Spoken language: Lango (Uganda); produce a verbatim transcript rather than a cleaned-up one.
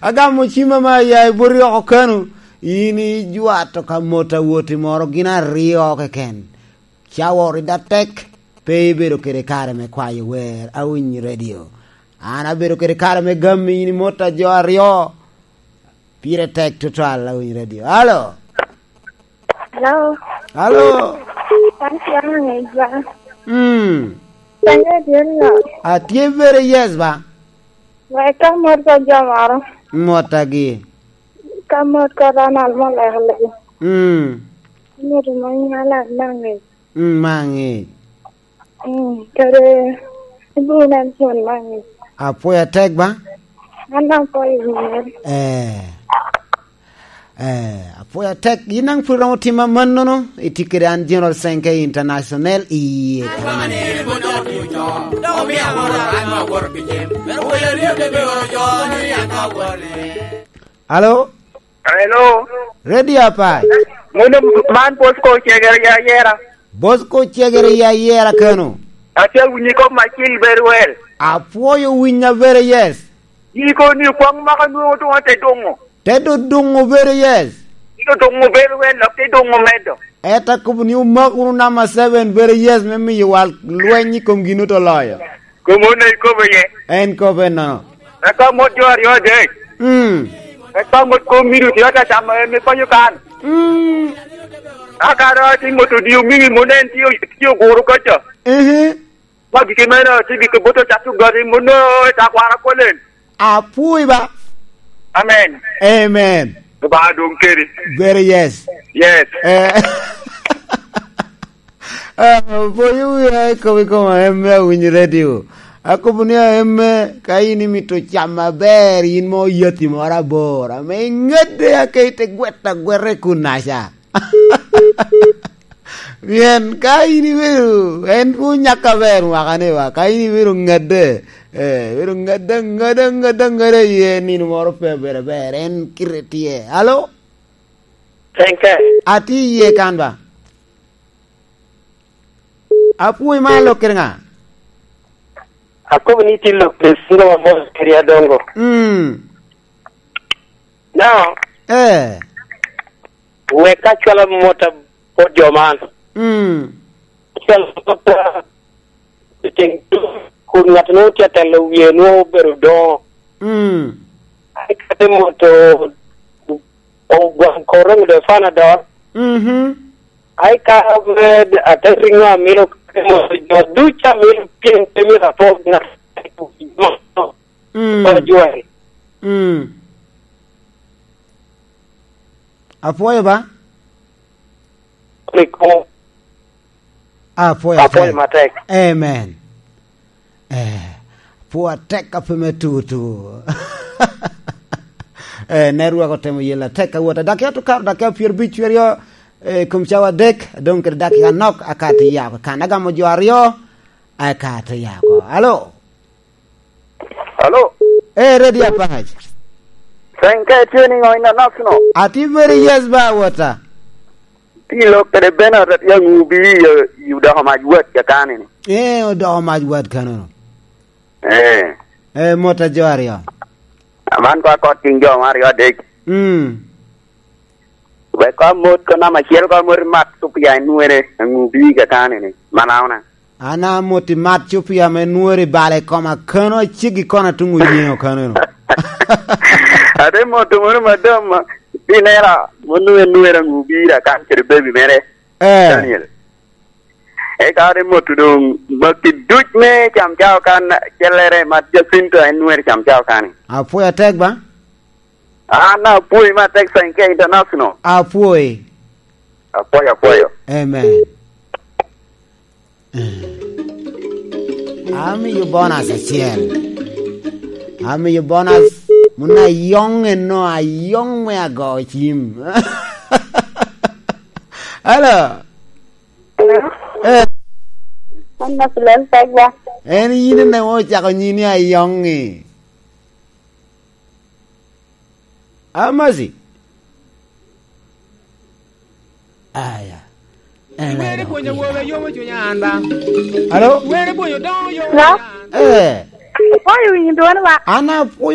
Agamo cima ma aya i boti oko kano, in ijwato ka mot awoti moro gin aryo keken. Cawa orida tek, pe ibedo kede kare me kwayo wer, awiny redio. An abedo kede kare me gammi in i mot a jo aryo, pire tek tutwal, awiny redio. Alo? Hello. Hello. Thank you, Angel. Mm. Thank you, dear Lord. Atye very yes ba. Wek ka mot ka jo moro. Mot agi. Ka mot ka dano almo leko leko. Mm. Mot mo nyala mangi. Mm, mangi. Mm, kare ibiro nen pwod mangi. Apwoya tek ba? An apwoyo wiye. Eh. Eh, apwoya tek. Yin daŋ pwod iromo timo amannono. Itye kede an General Senke International i yie kanni. Alo? Hello. Ready, Apai? Mono man Bosco Cegere ya yera. Bosco Cegere ya yera kano. Atye awinyi kop ma cil very well. Apwoyo winya very yes. Yiko ni kwang maka nwoŋo doŋ ate doŋo. Te do doŋo very yes. Ito doŋo very well, lok te doŋo medo. Eta kobo ni umak wunu number seven very yes me miyo wal lweny i kom gin oto loyo. Komo ne ikobo ye. En kobo en nono. Eka mot jo aryo adek. Mm. Eka mot kom miru tye ata camo en me konyo kan. Mm. Aka do ati mot odi omiŋi mo ne en tye, tye oguro koco. Mhm. Ma gike meno tye gike boto cat ogati mo no eta kwara kolen. Apwoyi ba. Amen. Amen. Ba dong keri. Very yes. Yes. Eh. Ah, boyo wiya i kom, i kom aemme awinyo redio. Akobo ni aemme ka in imito cam aber, in mo yati moro abor, ame iŋedde ake ite gwet agweta i kunaca. Pien ka in ibedo, en pwony nyaka aber mwaka ni wa, ka in ibedo ŋedde, eh, ibedo ŋedde, ŋedde, ŋedde, ŋedde iye nino moro pe obedo aber, en kite tye. Alo? Thank you. Atye iye kan ba? Apwoyi ma alok kede ŋa? Akobo ni tye lok kede singo ma mos kede adongo. Mm. Now, eh, wek ka cwala mot a-, bot jo man. Mm. Cwala mot a-, i tyeng kun ŋat nwoŋo tye atelo wie nwoŋo obedo doŋo. Mm. Ai, kadi moto ogwaŋ koroŋ do Panadol. Mhm. Ai, ka med ate riŋo amino kadi moto jo ducu amino pien pe myero apok ŋat. Mm. Ojwari. Mm. Apwoyo ba? Rik. Apwoyo Apwoyo atek. Matek. Amen. Eh, apwoyo atek ape me tutu. Eh, network otemo yela tek awota. Dakia to karo dakia pyero abic cweryo, eh, kom cawa adek, adong kede dakia nok, akato yako. Kan agamo jo aryo, akato yako. Alo? Alo? Eh, Ready Apac. Thank you, tye niŋo in anok no? Atye very yes ba, wota. Ti lok kede Bernard atye aŋubi i, i odoko mac wet kakani ni. Eh, odoko mac wet kanono. Eh. Eh, mot a jo aryo. Aman ko akot tiŋ jo ma aryo adek. Mm. Wek ko amot ko namba acel ko amot i mat cupia i nwere aŋubi kakani ni. Manauna. An amot i mat cupia me nwere bala i koma kano acegi kono atuŋo yeŋo kanono. Ate moto mono madam ma, pinera, mono en nwere aŋubi kan kede bebi mere. Eh. Daniel. Eka ate moto doŋ maki duc me cam cao kan cellere ma Jacinto en nwere cam cao kan. Apwoyo atek ba? An apwoyi matek Sankey International. Apwoyi. Apwoyo, apwoyo. Amen. Eh. Amiyo bonus acel. Amiyo bonus muna ayong eno, ayong me ago cim. Hello. Hello? Eh. An Masilel Pegwa. En yin ene ocako nyini ayongi. Amazi. Aya. En Were pwonyo wobe yomo cunya an ba. Alo? Were pwonyo doŋo yomo Hello? Cunya an. Eh. Apwoyo winyo dwon wa. An apwoyo